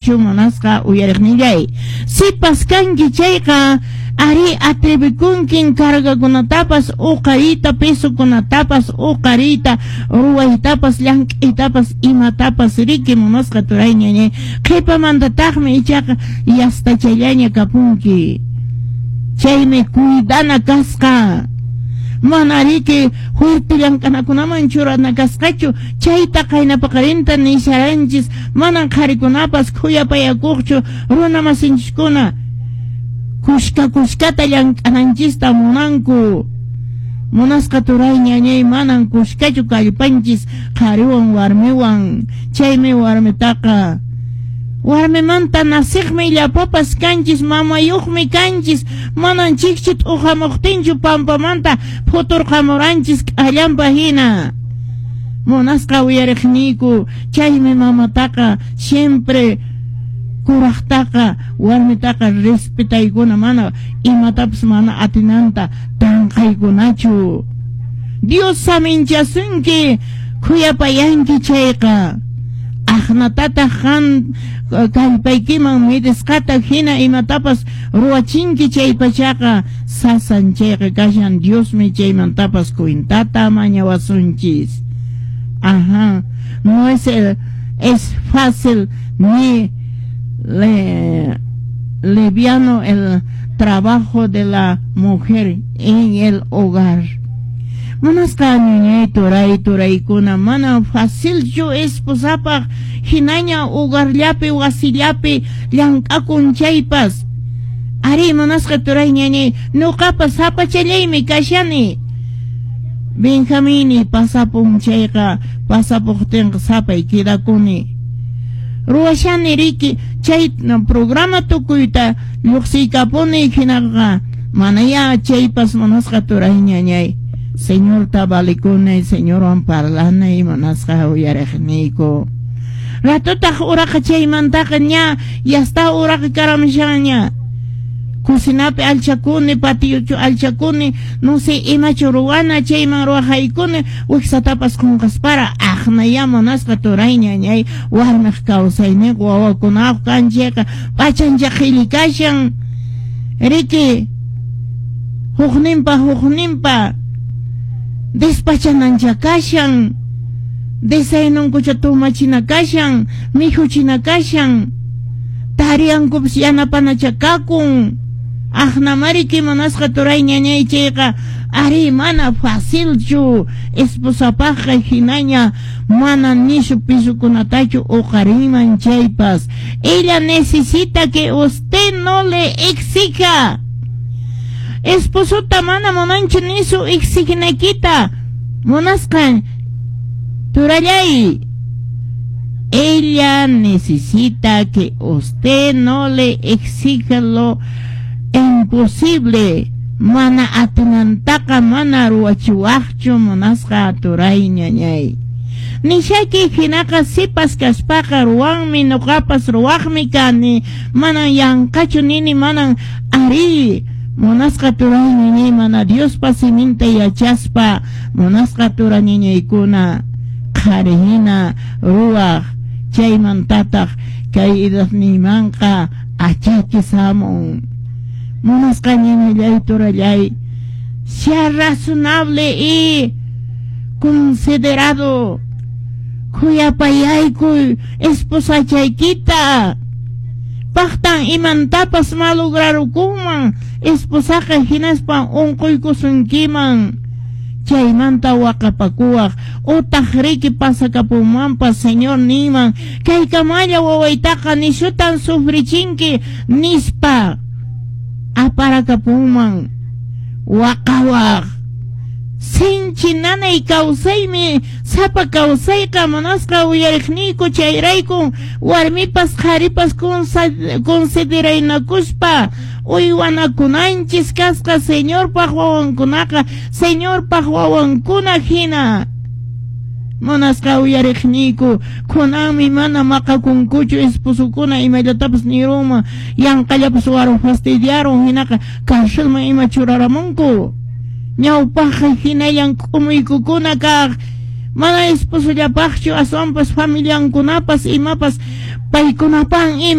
Munasqa uyariqnillay, sipas kanki chayqa, ari atrevikunkin cargakunatapas uqariyta, pesokunatapas uqariyta, ruwaytapas, llank'aytapas, imatapas riki munasqa turay ñañay. Qhipamantataqmi ichaqa yastachallaña kapunki. Chaymi cuidana kasqa. Mana riki fuerte llank'anakunaman churana kasqachu, chayta qayna paqarinta nisharanchis, manan qharikunapas khuyapayakuqchu runa masinchiskuna kushka kushkata llank'ananchista munanku. Munasqa turay ñañay, manan kushkachu kallpanchis qhariwan warmiwan, chaymi warmitaqa warmimanta nasiqmi llapapas kanchis, mamayuqmi kanchis, manan chikchi t'uqamuqtinchu pampamanta phuturqamuranchis k'allampa hina. Munasqa uyariqniyku, chaymi mamataqa siempre kuraqtaqa warmitaqa respetaykuna, mana imatapas mana atinanta tanqaykunachu. Dios saminchasunki khuyapayanki chayqa. Aqnatataq qan kallpaykiman midisqata hina imatapas ruwachinki chay pachaqa sasan chayqa kashan, Diosmi chaymantapas cuentata mañawasunchis. Ajá, no es fácil ni liviano el trabajo de la mujer en el hogar. Munasqa ñañay turay turaykuna, mana facilchu esposapaq hinaña hogarllapi wasillapi llank'akun chaypas. Ari munasqa turay ñañay, nuqapas sapachallaymi kashani. Benjamini pasapun chayqa pasapuqtinqa sapay quedakuni. Ruwashani riki chay programa tukuyta lluqsiykapuni hinaqa manaya chaypas munasqa turay ñañay. Señorta valikuni, Señorwan parlanay munasqa uyariqniyku. Ratutaq uraqa chaymantaqa ña yasta uraqa karamushanña. Cocinapi alchakuni, patiochu alchakuni, no sé imachu ruwana chayman ruwajaykuni, wiksatapas qunqaspara aqnaya munasqa turay ñañay, warmiq kawsayninqa wawakunaq kanchayqa p'achancha qhilli kashan. Riki hukninpa hukninpa despachanancha kashan, desayununkucha tumachina kashan, mikhuchina kashan, tariankupas yanapanacha kakun. Aqnamariki munasqa turay ñañay chayqa ari mana facilchu esposapaqqa hinaña mana nishu pisukunatachu uqarinman chaypas. Ella necesita que usted no le exija. Esposota mana munanchu nisu exiginaykita. Munasqa turallay. Ella necesita que usted no le exija lo imposible. Mana atinantaqa mana ruwachiwaqchu munasqa turay ñañay. Nishaki hinaqa sipas kaspaqa ruwanmi, nuqapas ruwaqmi kani, manan yanqachu nini, manan ari munasqa turay ñañay, mana Diospa siminta yachaspa munasqa turay ñañaykuna qhari hina ruwaq chaymantataq kay edadniymanqa achaki samun. Munasqa ñañallay turallay, sea razonable y considerado. Khuyapayaykuy esposachaykita. Paqtan imantapas malograrukunman esposaqa hinaspa unquykusunkiman. Chaymanta waqapakuwaq utaq riki pasakapunmanpas Señor ninman kaykamalla wawaytaqa nishutan sufrichinki nispa aparakapunman waqawaq. Sinchi nanay kawsaymi sapa kawsayqa munasqa uyariqniyku, chayraykun warmipas qharipas consideraynakuspa uywanakunanchis kasqa Señorpaq wawankunaqa Señorpaq wawankuna hina. Munasqa uyariqniyku, kunanmi mana maqakunkuchu esposokuna imallatapas nirunman yanqallapas waru fastidiarun hinaqa carcelman ima churaramunku. Ñawpaqqa hinallan k'umuykukuna kaq, mana esposollapaqchu aswanpas familiankunapas imapas Paykunapan.